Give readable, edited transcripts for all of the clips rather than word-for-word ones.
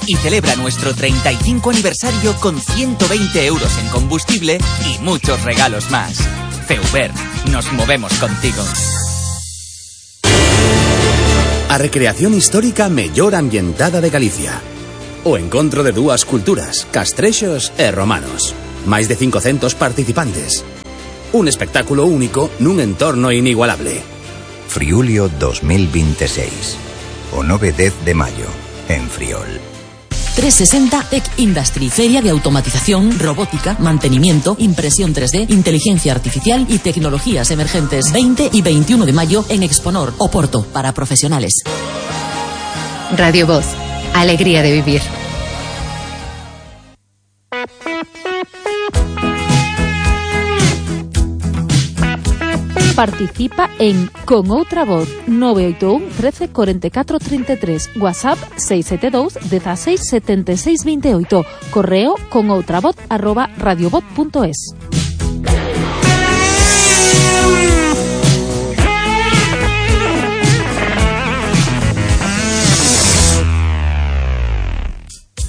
y celebra nuestro 35 aniversario con 120 euros en combustible y muchos regalos más. Feuber, nos movemos contigo. A recreación histórica mellor ambientada de Galicia. O encontro de dúas culturas, castrexos e romanos. Máis de 500 participantes. Un espectáculo único nun entorno inigualable. Friulio 2026. O 9-10 de maio, en Friol. 360 Tech Industry, feria de automatización, robótica, mantenimiento, impresión 3D, inteligencia artificial y tecnologías emergentes. 20 y 21 de mayo en Exponor, Oporto, para profesionales. Radio Voz, alegría de vivir. Participa en Con Outra Voz 981 13 44 33, WhatsApp 672 16 76 28, correo conoutravoz@radiovoz.es.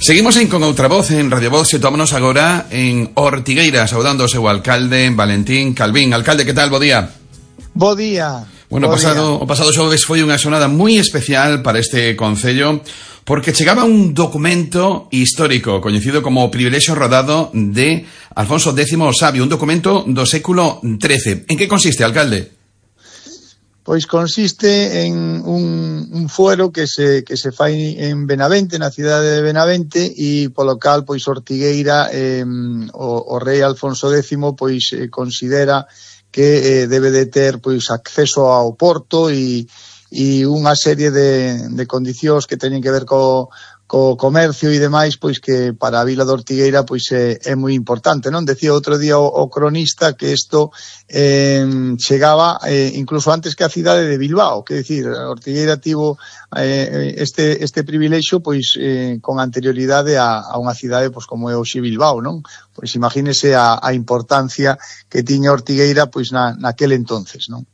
Seguimos con outra voz en Radio Voz. Situámonos agora en Ortigueira, saudando o seu alcalde Valentín Calvín. Alcalde, que tal? Bo día. Bo día. Bueno, o pasado xoves foi unha xornada moi especial para este concello, porque chegaba un documento histórico coñecido como o Privilexio Rodado de Alfonso X o Sabio, un documento do século XIII. En que consiste, alcalde? Pois consiste en un fuero que se fai en Benavente, na cidade de Benavente, e polo cal pois Ortigueira o rei Alfonso X pois considera que debe de ter pois acceso ao porto e unha serie de condicións que teñen que ver co comercio e demais, pois que para a vila de Ortigueira pois é moi importante, non? Decía outro día o cronista que isto chegaba incluso antes que a cidade de Bilbao, que decir, Ortigueira tivo este privilexio pois con anterioridade a unha cidade pois como é hoxe Bilbao, non? Pois imagínese a importancia que tiña Ortigueira pois naquel entonces, non?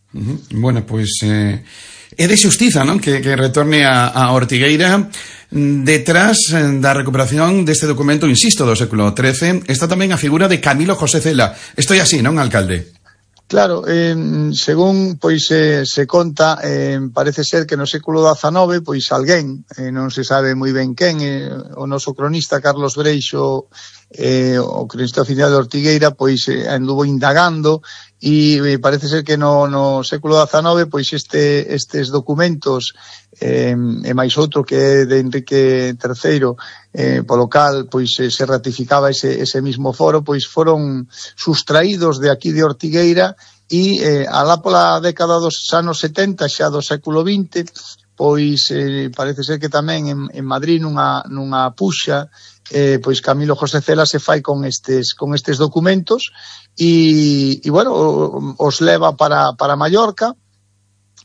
Bueno, pois é de xustiza, non? Que retorne a Ortigueira. Detrás da recuperación deste documento, insisto, do século XIII, está tamén a figura de Camilo José Cela. Isto é así, non, alcalde? Claro, según pois se conta, parece ser que no século XIX, pois alguén, non se sabe moi ben quen, o noso cronista Carlos Breixo, o cronista oficial de Ortigueira, pois anduvo indagando e parece ser que no século XIX pois estes documentos e máis outro que é de Enrique III, polo cal pois se ratificaba ese mismo foro, pois foron sustraídos de aquí de Ortigueira e alá pola década dos anos 70 xa do século XX pois parece ser que tamén en Madrid nunha puxa pois Camilo José Cela se fai con estes documentos e bueno, os leva para Mallorca,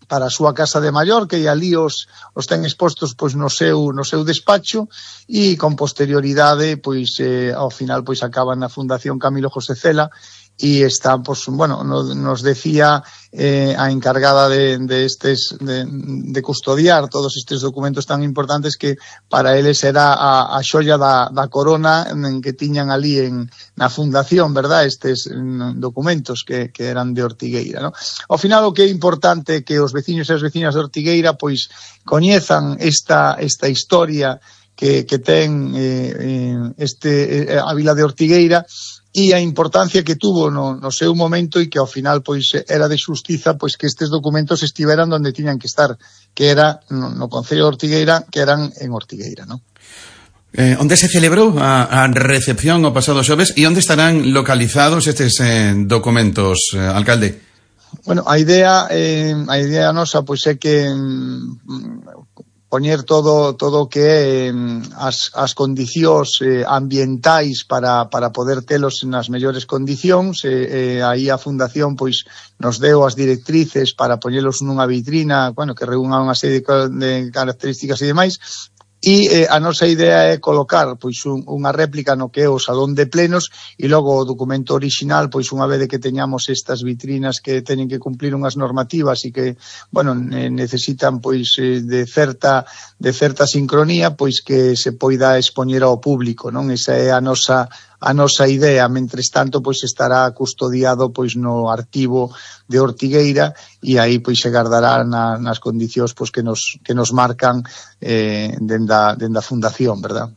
para a súa casa de Mallorca, e ali os ten expostos pois no seu despacho, e con posterioridade pois ao final pois acaban na Fundación Camilo José Cela e están, pues, bueno, nos decía a encargada de custodiar todos estes documentos tan importantes que para eles era a xoia da corona en que tiñan ali na fundación, verdad, estes documentos que eran de Ortigueira, ¿no? Ao final o que é importante que os veciños e as veciñas de Ortigueira pois coñezan esta historia que ten a vila de Ortigueira e a importancia que tuvo no seu momento e que ao final pois era de xustiza pois que estes documentos estiveran onde tiñan que estar, que era no Concello de Ortigueira, que eran en Ortigueira, non? Onde se celebrou a recepción o pasado xoves e onde estarán localizados estes documentos, alcalde? Bueno, a idea nosa pois é que poñer todo o que é as condicións ambientais para poder telos nas mellores condicións. Aí a Fundación pois nos deu as directrices para poñelos nunha vitrina, bueno, que reúna unha serie de características e demais, E a nosa idea é colocar pois unha réplica no que é o salón de plenos e logo o documento orixinal, pois unha vez que teñamos estas vitrinas que teñen que cumplir unhas normativas e que, bueno, necesitan pois de certa sincronía, pois que se poida expoñer ao público, non? Esa é a nosa idea. Mentres tanto, pois estará custodiado pois no arquivo de Ortigueira e aí pois se guardará nas condicións pois que nos marcan dende a fundación, verdad?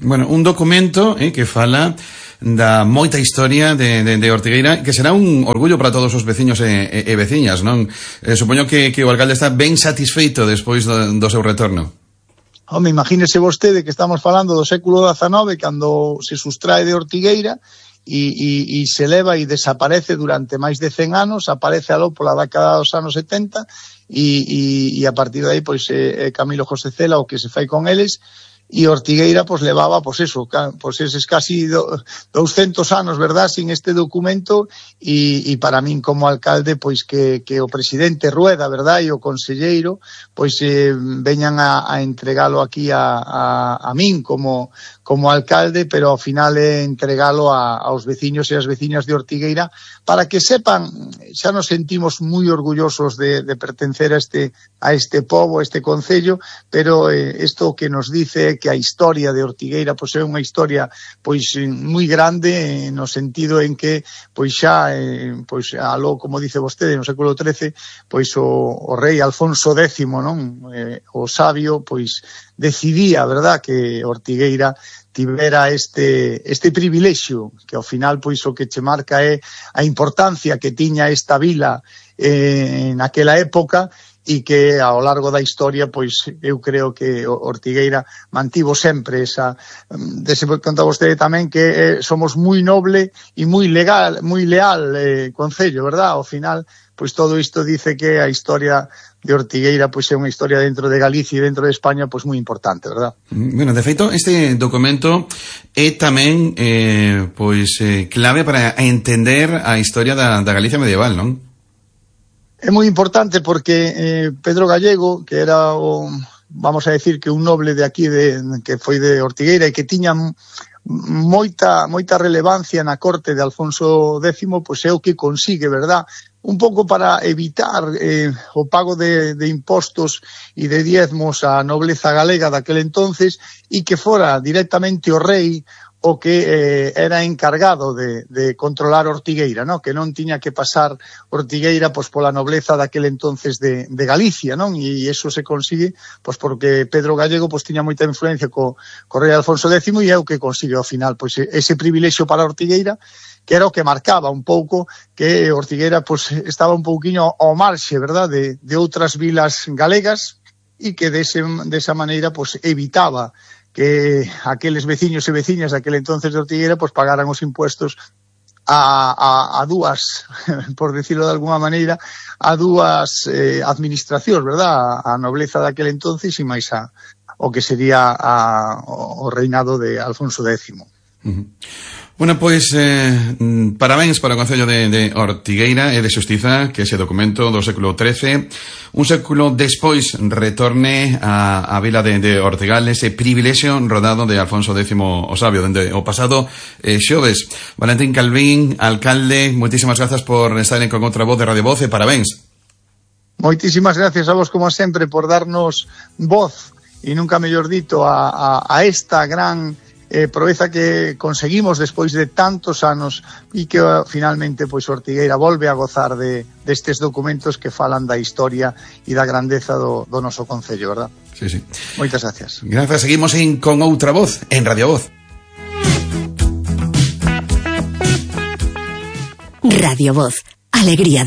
Bueno, un documento que fala da moita historia de Ortigueira, que será un orgullo para todos os veciños e veciñas, non? Supoño que o alcalde está ben satisfeito despois do seu retorno. Home, imagínese vostede que estamos falando do século XIX, cando se sustrae de Ortigueira e se leva e desaparece durante máis de 100 anos, aparece aló pola década dos anos 70 e a partir de aí pois Camilo José Cela o que se fai con eles, e Ortigueira pois levaba pois eses casi 200 anos, verdad, sin este documento e para min como alcalde pois que o presidente Rueda, verdad, e o conselleiro pois veñan a entregalo aquí a min como alcalde, pero ao final é entregalo aos veciños e as veciñas de Ortigueira para que sepan, xa nos sentimos moi orgullosos de pertencer a este pobo, a este concello, pero isto que nos dice que a historia de Ortigueira pois é unha historia pois moi grande no sentido en que pois xa pois aló, como dice vostede, no século XIII pois o rei Alfonso X, non? O sabio pois decidía, verdad, que Ortigueira tivera este privilexio, que ao final pois o que che marca é a importancia que tiña esta vila naquela época e que ao largo da historia pois eu creo que Ortigueira mantivo sempre esa conta vostede tamén que somos moi noble e moi leal concello, verdad? Ao final pois todo isto dice que a historia de Ortigueira pois é unha historia dentro de Galicia e dentro de España pois moi importante, verdad? Bueno, de feito, este documento é tamén pois clave para entender a historia da Galicia medieval, non? É moi importante porque Pedro Gallego, que era vamos a decir que un noble de aquí que foi de Ortigueira e que tiña moita relevancia na corte de Alfonso X, pois é o que consigue, verdad? Un pouco para evitar o pago de impostos e de diezmos á nobleza galega daquel entonces e que fora directamente o rei o que era encargado de controlar Ortigueira, ¿no? Que non tiña que pasar Ortigueira pois pola nobleza daquel entonces de Galicia, non? E iso se consigue pois porque Pedro Gallego pois tiña moita influencia co rei Alfonso X e é o que consigue ao final pois ese privilexio para Ortigueira, que era o que marcaba un pouco que Ortigueira pois estaba un pouquiño ao marxe, verdad, de outras vilas galegas e que desa maneira pois evitaba que aqueles veciños e veciñas daquel entonces de Ortigueira pois pagaran os impuestos a dúas, por decirlo de alguma maneira, a dúas administracións, verdad? A nobleza daquel entonces e máis o que sería o reinado de Alfonso X. Bueno, pois parabéns para o Concello de Ortigueira e de Xustiza que ese documento do século XIII, un século despois, retorne a vila de Ortigal, ese privilexio rodado de Alfonso X o Sabio dende o pasado xoves. Valentín Calvín, alcalde, moitísimas grazas por estar con outra voz de Radio Voz e parabéns. Moitísimas gracias a vos, como sempre, por darnos voz e nunca mellor dito a esta gran proeza que conseguimos despois de tantos anos e que finalmente pois Ortigueira volve a gozar destes documentos que falan da historia e da grandeza do noso concello, verdad? Sí. Moitas gracias. Grazas, seguimos con outra voz en Radio Voz. Radio Voz, alegría de